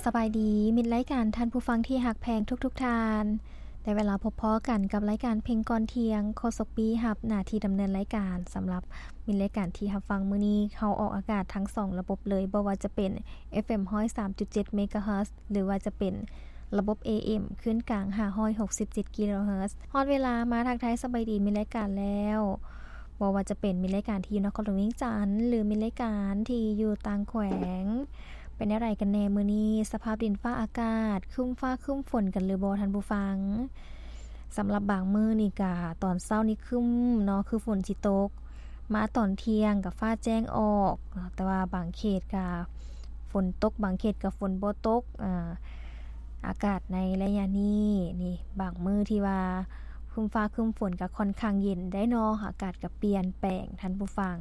ສະບາຍດີ ມິດລາຍການ ທ່ານຜູ້ຟັງທີ່ຮັກແພງທຸກໆທ່ານ. ໄດ້ເວລາພົບພໍ້ກັນກັບລາຍການເພງກ່ອນທ່ຽງ. ໂຄສົກບີຮັບໜ້າທີ່ດຳເນີນລາຍການ. ສຳລັບມິດລາຍການທີ່ຮັບຟັງມື້ນີ້ ເຮົາອອກອາກາດທັງສອງລະບົບເລີຍ, ບໍ່ວ່າຈະເປັນ ເອັຟເອັມ ຮ້ອຍສາມຈຸດເຈັດ ເມກາເຮີດ ຫຼືວ່າຈະເປັນລະບົບ ເອເອັມ ຄື້ນກາງ ຫ້າຮ້ອຍຫົກສິບເຈັດ ກິໂລເຮີດ. ຮອດເວລາມາທັກທາຍສະບາຍດີມິດລາຍການແລ້ວ. ບໍ່ວ່າຈະເປັນມິດລາຍການທີ່ຢູ່ນະຄອນຫຼວງວຽງຈັນ ຫຼື ມິດລາຍການທີ່ຢູ່ຕ່າງແຂວງ. ເປັນແນວໃດກັນແນ່ມື້ນີ້? ສະພາບດິນຟ້າອາກາດ ຄຶ້ມຟ້າຄຶ້ມຝົນກັນຫຼືບໍ່ທ່ານຜູ້ຟັງ? ສຳລັບບາງມື້ນີ້ກະຕອນເຊົ້ານີ້ຄຶ້ມເນາະ ຄືຝົນຊິຕົກ, ມາຕອນທ່ຽງກະຟ້າແຈ້ງອອກເນາະ, ແຕ່ວ່າບາງເຂດກະຝົນຕົກ ບາງເຂດກະຝົນບໍ່ຕົກ. ອາ ອາກາດໃນໄລຍະນີ້ນີ້ ບາງມື້ທີ່ວ່າຄຶ້ມຟ້າຄຶ້ມຝົນກະຄ່ອນຂ້າງເຢັນໄດ໋ເນາະ, ອາກາດກະປ່ຽນແປງທ່ານຜູ້ຟັງ.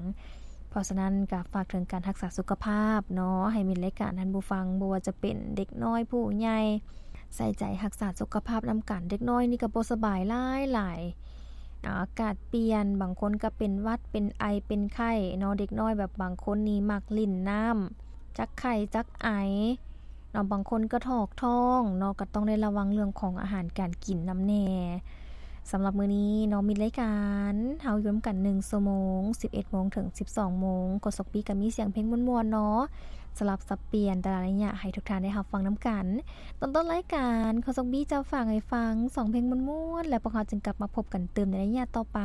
ເພາະສະນັ້ນກະຝາກເຖິງການຮັກສາສຸຂະພາບເນາະ ໃຫ້ມິດລາຍການທ່ານຜູ້ຟັງ, ບໍ່ວ່າຈະເປັນເດັກນ້ອຍຜູ້ໃຫຍ່ ໃສ່ໃຈຮັກສາສຸຂະພາບນຳກັນ. ເດັກນ້ອຍນີ້ກະບໍ່ສະບາຍຫຼາຍໆ ອາ ອາກາດປ່ຽນ, ບາງຄົນກະເປັນຫວັດ ເປັນໄອ ເປັນໄຂ້ເນາະ. ເດັກນ້ອຍແບບບາງຄົນນີ້ມັກຫຼິ້ນນ້ຳ ຈັກໄຂ້ຈັກໄອເນາະ, ບາງຄົນກະຖອກທ້ອງເນາະ, ກະຕ້ອງໄດ້ລະວັງເລື່ອງຂອງອາຫານການກິນນຳແນ່. ສຳລັບມື້ນີ້ເນາະ ມິດລາຍການເຮົາຢູ່ນຳກັນໜຶ່ງຊົ່ວໂມງ ສິບເອັດໂມງເຖິງສິບສອງໂມງ. ໂຄສົກບີກະມີສຽງເພງມ່ວນໆເນາະ ສະຫຼັບສັບປ່ຽນແຕ່ລະໄລຍະໃຫ້ທຸກທ່ານໄດ້ຮັບຟັງນຳກັນ. ຕອນຕົ້ນລາຍການ ໂຄສົກບີຈະຝາກໃຫ້ຟັງສອງເພງມ່ວນໆ ແລ້ວພວກເຮົາຈຶ່ງກັບມາພົບກັນຕື່ມໃນໄລຍະຕໍ່ໄປ.